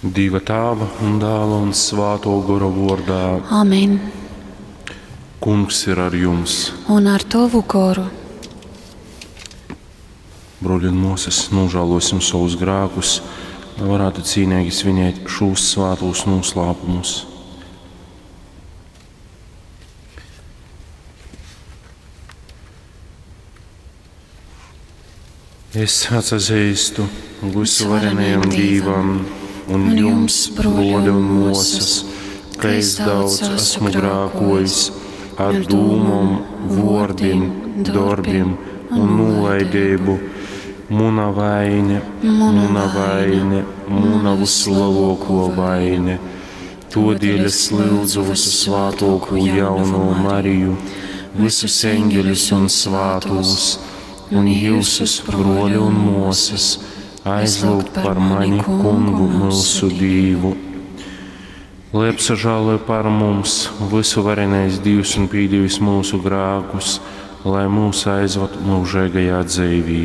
Dīva Tāva un Dāla un Svātō Gora vōrdā. Amen. Kungs ir ar jums. Un ar tovu goru. Brōļi un mōsas, nožēlosim savus grēkus, lai varētu cīnīgi svinēt šos svātos noslēpumus. Es atsazīstu vysuvarenajam Dīvam un jums, brōļi un mōsas, ka es daudz esmu grākojis ar dūmom, vōrdim, dorbim un nūlaideibu. Muna vaine, muna vaine, muna vyslelōkō vaine. Tōdēļ es lyudzu vysusvātōkū jaunū Mariju, vysus eņģeļus un svātūs, un jyusus, brōļi un mōsas, aizlyugt par mani Kungu myusu Dīvu. Lai apsažāloj par mums vysuvarenais Dīvs un pīdevis myusu grākus, lai mūs aizvad myužeigajā dzeivī.